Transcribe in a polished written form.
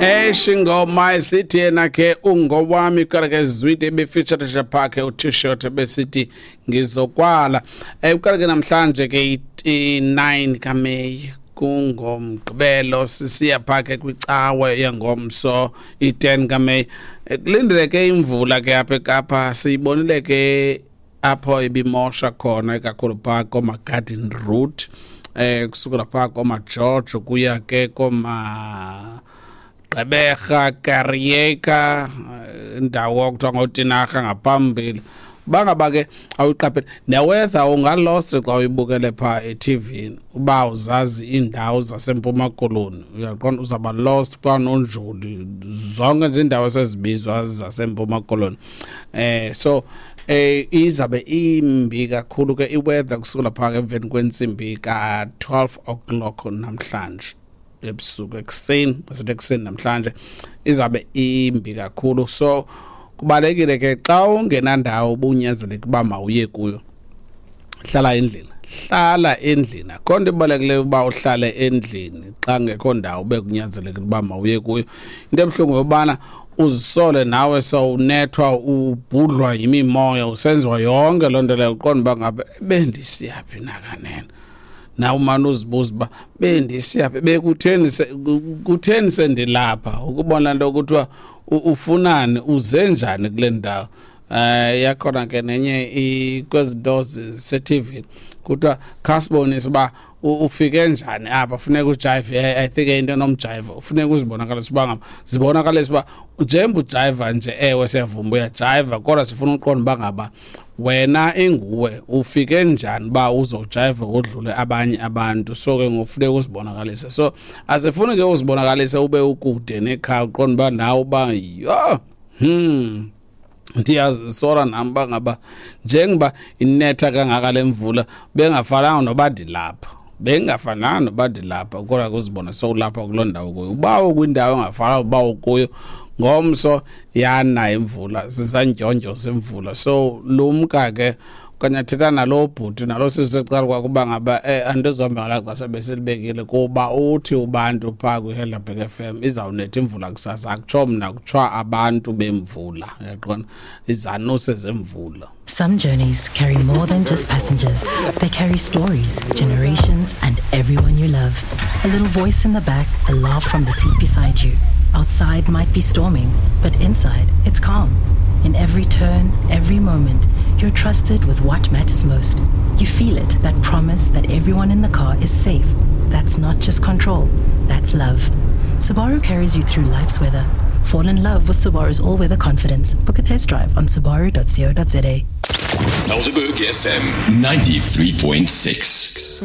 Eish, ingoma isithi yena ke ungowami kodwa ke Zwide befeaturisha phakhe uT-shirt besithi ngizokwala. Uqala ke namhlanje ke i-9 kaMeyi, kungomgqibelo, sisiya phakhe kwicawe yengomso i-10 kaMeyi. Kulindeleke imvula ke apha eKapa. Siyibonile ke apho ibimosha khona ikakhulu phaa koma-Garden Route, kusukela phaa koma-George kuya ke koma Gqeberha, Kariega, indawo okuthiwa ngoTinarha ngaphambili. Bangaba ke awuyiqapheli neweather, ungalost xa uyibukele phaa eTV uba uzazi iindawo zaseMpuma Koloni, uyaqonda uzawuba lost kwanonjoli, zonke nje iindawo esezibizwa zaseMpuma Koloni. So izabe imbi kakhulu ke iweather kusukela phaa emveni kwentsimbi ka-12 o'clock namhlanje ebusuku, ekuseni, masithi ekuseni namhlanje izabe imbi kakhulu. So kubalekile ke, xa ungenandawo ubunyanzeleka uba mawuye kuyo, hlala endlini, hlala endlini. Akho nto ibalulekileyo uba uhlale endlini xa ngekho ndawo ube kunyanzelekile uba mawuye kuyo. Into ebuhlungu yobana uzisole nawe sewunethwa, ubhudlwa yimimoya, usenziwa yonke loo nto leyo, uqonda uba ngabe bendisiyaphi nakanene. Nawe umane uzibuza uba bendisiyaphi, bekutheni, kutheni sendilapha, ukubona nto kuthiwa ufunani, uze njani kule ndawo. Yakhona ke nenye kwezinto ze-TV, kuthiwa khasibonise uba ufike njani apha, funeka ujive. I think into enomjive funeka uzibonakalise uba ngaba, zibonakalise uba njengoba ujiva nje, ewe siyavuma uyajiva, kodwa sifuna uqonda uba ngaba wena inguwe ufike njani uba uzojiva udlule abanye abantu. So ke ngofuneka uzibonakalise, so asifuni ke uzibonakalise ube ukude nekhaya, uqonda uba nawe uba yho, ndiyazisola nami uba ngaba njengoba inetha kangaka le mvula, bengafananga noba ndilapha, bengafananga noba ndilapha, kodwa kuzibona sowulapha kuloo ndawo kuyo, uba ukwindawo engafananga uba ukuyo. Ngomso yana imvula, sisandyondyo semvula, so lumka ke okanye thetha nalo bhuti nalo sisi ecala kwakuba ngaba andizohamba ngalaa xesha besilibekile, kuba uthi ubantu phaa kwiHelderberg FM izawunetha imvula kusasa. Akutsho mna, kutsho abantu bemvula, uyaqonda, izanuse zemvula. Some journeys carry more than just passengers. They carry stories, generations, and everyone you love. A little voice in the back, a laugh from the seat beside you. Outside might be storming, but inside it's calm. In every turn, every moment, you're trusted with what matters most. You feel it, that promise that everyone in the car is safe. That's not just control, that's love. Subaru carries you through life's weather. Fall in love with Subaru's all weather confidence. Book a test drive on subaru.co.za. Helderberg FM 93.6.